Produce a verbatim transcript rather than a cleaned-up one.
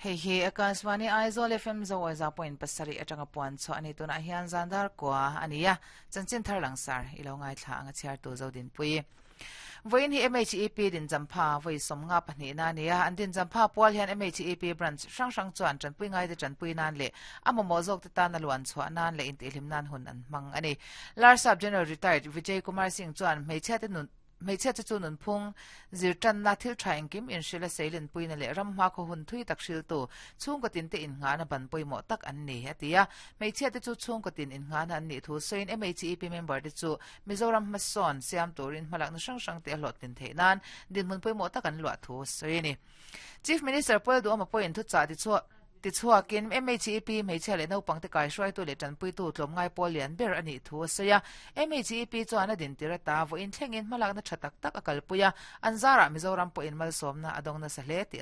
Hei hi Akashvani Aizawl F M zo point pasarih atanga puan chu ani. Tunah hian zandar kwa ania, chanchin thar langsar ilo ngai thla anga, chhiar tu Zodin Pui. Voin hi M H E P din champha voi somnga pahnih na nia. An din champha pual hian M H E P branch hrang hrang chuan tanpui ngai te tanpui nan le amaw zawk te tan a luan chhuah nan le intihhlim nan hun an hmang ani. Larsap General Retired Vijay Kumar Singh chuan hmeichhia te nun hmeichhia chu chu nunphung zirtan na thil tha engkim in hrila seilin puina leh ram hma khaw hun thui tak hril tu chhungkaw tin te in nga na ban pawimawh tak an ni atia. Hmeichhia te chu chhungkaw tin in nga na an nih thu sawiin, M H E P member te chu Mizoram hmasawn siam turin hmalak na hrang hrang te a hlawh tin theih nan dinhmun pawimawh tak an luah thu sawi ni. Chief Minister Pu Lalduhoma pawhin thu chah ti chu ti chhuakin M H E P hmeichhia leh naupang te kai hruaitu leh tanpuitu tlawmngai pawl lian ber ani thu a sawi a. M H E P chuan a din tir ata vawiin thlengin hmalakna tha tak tak a kalpui a, an zarah Mizoram pawhin malsawmna a dawng nasa hle tih.